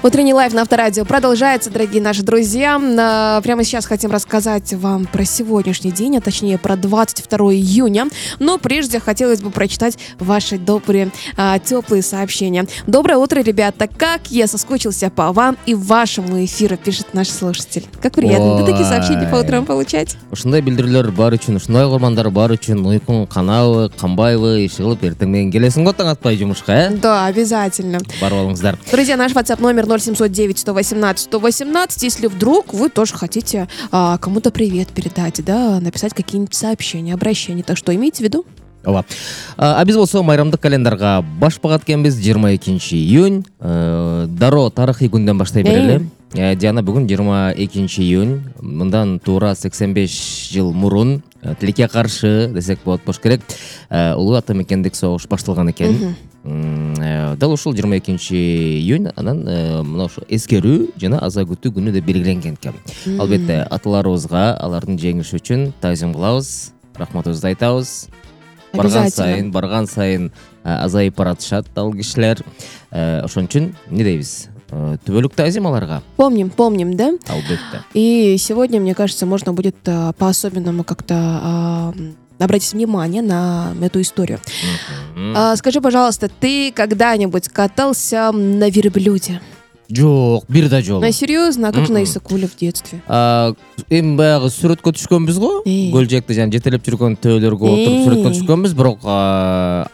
Утренний лайв на Авторадио продолжается, дорогие наши друзья. Прямо сейчас хотим рассказать вам про сегодняшний день, а точнее про 22 июня. Но прежде хотелось бы прочитать ваши добрые, теплые сообщения. Доброе утро, ребята. Как я соскучился по вам и вашему эфиру, пишет наш слушатель. Как приятно, да, такие сообщения по утрам получать. Ушундай билдирүүлөр бар үчүн, ушундай курмандар бар үчүн уйкуң канабы, канбайбы, ишигилип эртең менен келесиң го таң атпай жумушка, Да, обязательно. Барып алыңыздар. Друзья, наш WhatsApp номер 0709-118-118. Если вдруг вы тоже хотите кому-то привет передать, да, написать какие-нибудь сообщения, обращения. Так что имейте в виду. Ооба. Биз болсо майрамдык календарга баш багат экенбиз. 22 июнь. Дароо тарыхый күндөн баштай берели. Жана бүгүн 22 июнь. Мындан туура 85 жыл мурун тилекке каршы десек болот болуш керек. Улуу ата мекендик согуш башталган экен. Дал ушул 22 июнь анан мына ошо эскерүү жана аза күтүү күнү деп белгиленген экен. Албетте аталарыбызга алардын жеңиши үчүн таазим кылабыз, рахматыбызды айтабыз. Барган сайын азайып баратышат ал кишилер. Ошон үчүн эмне дейбиз? Түбөлүк таазим аларга. Помним, да? Албетте. И сегодня, мне кажется, можно будет по-особенному как-то обратить внимание на эту историю. Скажи, пожалуйста, ты когда-нибудь катался на верблюде? Жок, бир да жок. Серьезно? А как же на Исыкуле в детстве? Эми баягы сүрөткө түшкөнбүз го. Көлжекте жана жетелеп жүргөн төөлөргө отуруп сүрөткө түшкөнбүз, бирок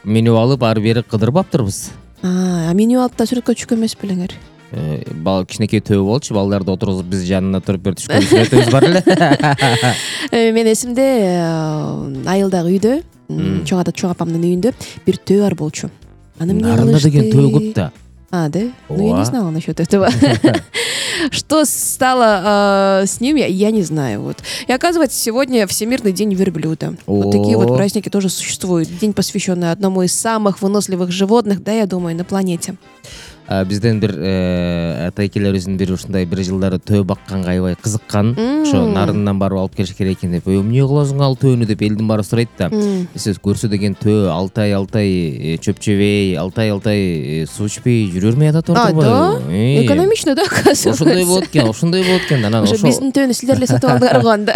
меню алып ары бери кыдырып баптырбыз. Меню алып да сүрөткө түшкөн эмес белеңер? Кичинекей төбө болчу, балдарды отургузуп биз жанына туруп бер түшкөн сүрөтүбүз бар эле. Мен эсимде айылдагы үйдө, чоң апамдын үйүндө бир төбө бар болчу. Нарында деген төбө көп да. Да? Ну, я не знала насчет этого. Что стало с ним, я не знаю. Вот. И оказывается, сегодня Всемирный день верблюда. Вот такие вот праздники тоже существуют. День, посвященный одному из самых выносливых животных, да, я думаю, на планете. Бизден бир атайкелерибиздин бири ушундай бир жылдары төбө бакканга аябай кызыккан. Ошо нарындан барып алып келиш керек экен деп. Эмне кыласың ал төбөнү деп элдин баары сурайт да. Сиз көрсө деген төбө алтай чөп жебей, алтай суу ичпей жүрөр ме ада турбайбы? Да? Экономично, да, оказывается. Ошондой болот экен. Анан ошо биздин төбөнү силер эле сатып алдыңар го анда.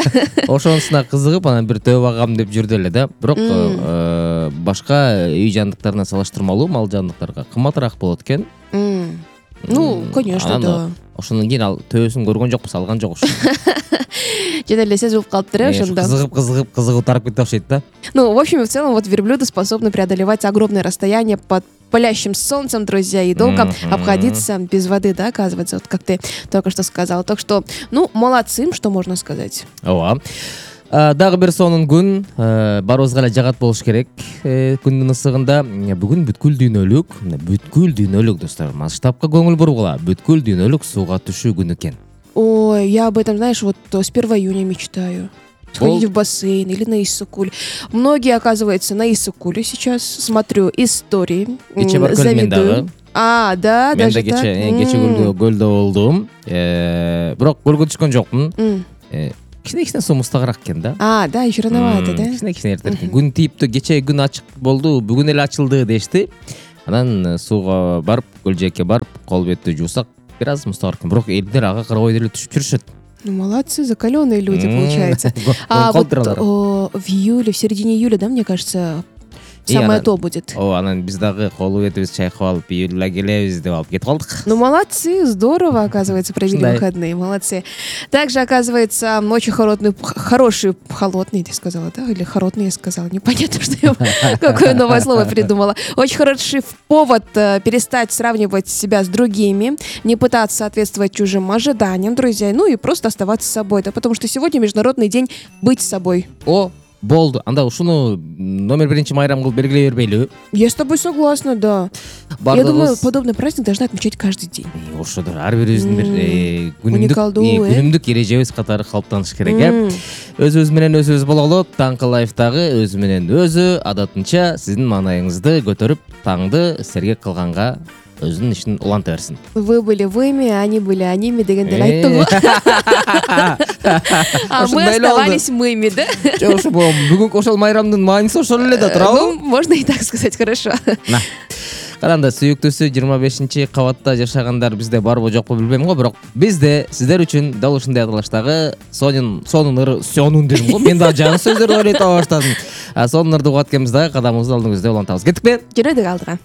Ошонусуна кызыгып, анан бир төбө багам деп жүрдү эле да. Бирок башка үй жандыктарына салыштырмалуу мал жандыктарга кымбатыраак болот экен. Ну, конечно, да. Ошондон кийин ал төбөсүн көргөн жокпуз, алган жок ошо. Жана эле сезип калыптыр, ошондо. Кызыгып тарап кетип окшойт да. Ну, в общем и в целом, вот верблюды способны преодолевать огромное расстояние под палящим солнцем, друзья, и долго обходиться без воды, да, оказывается, вот как ты только что сказал. Так что, ну, молодцы, что можно сказать. Ооба. Дагы бир сонун күн, барыбызга эле жагат болуш керек. Күндүн ысыгында бүгүн бүткүл дүйнөлүк достор, масштабка көңүл бургула. Бүткүл дүйнөлүк сууга түшүү күнү экен. Ой, я об этом, знаешь, вот с 1 июня мечтаю. Сходить в бассейн или на Иссык-Куль. Многие, оказывается, на Иссык-Куле сейчас смотрю истории, завидую. Да, даже так. Кече көлдө болдум. Бирок көлгө түшкөн жокмун. Кичине суу мустагыраак экен да. Да, еще рановато, да? Кичине эртең. Күн тийиптүү, кече күн ачык болду, бүгүн эле ачылды дешти. Анан сууга барып, көлжекке барып, кол бетти жуусак, бир аз мустагыраак экен. Бирок элдер ага карабай деле түшүп жүрүшөт. Ну, молодцы, закаленные люди, получается. Вот в середине июля, да, мне кажется, самое то будет. Анан биз дагы колу бетибиз чайкап алып, июльда келебиз деп алып кетип калдык. Ну, молодцы, здорово, оказывается, провели выходные, молодцы. Также, оказывается, очень хороший, холодный, ты сказала, да? Или хородный, я сказала, непонятно, что я какое новое слово придумала. Очень хороший повод перестать сравнивать себя с другими, не пытаться соответствовать чужим ожиданиям, друзья, ну и просто оставаться собой, да, потому что сегодня Международный день быть собой. Болду. Анда ушуну номер 1 майрам кылып белгилей бербейлүбү? Я с тобой согласна, да. Я думаю, подобный праздник должны отмечать каждый день. Ошодор, ар бирибиздин бир күнүмдүк эрежебиз катары калыптаныш керек, Өзүбүз менен өзүбүз бололу, таңкы лайфтагы өзү менен өзү адатынча сиздин маанайыңызды көтөрүп, таңды сергек кылганга өзүнүн ишин уланта берсин. Вы были выми, они были аними дегенде айттым го. А мы оставались мыми, да? Ошо бүгүнкү ошол майрамдын мааниси ошол эле да, туурабы? Ну, можно и так сказать, хорошо. Караңда, сүйүктүүсү 25 кабатта жашагандар бизде барбы жокпу билбейм го, бирок бизде сиздер үчүн дал ушундай кылыштагы сонун дедим го. Мен дагы жаңы сөздөрдү ойлой таба баштадым. Сонун ырды угат экенбиз дагы кадамыбызды алдыңызда улантабыз. Кеттикпи? Жүрөдүк алдыга.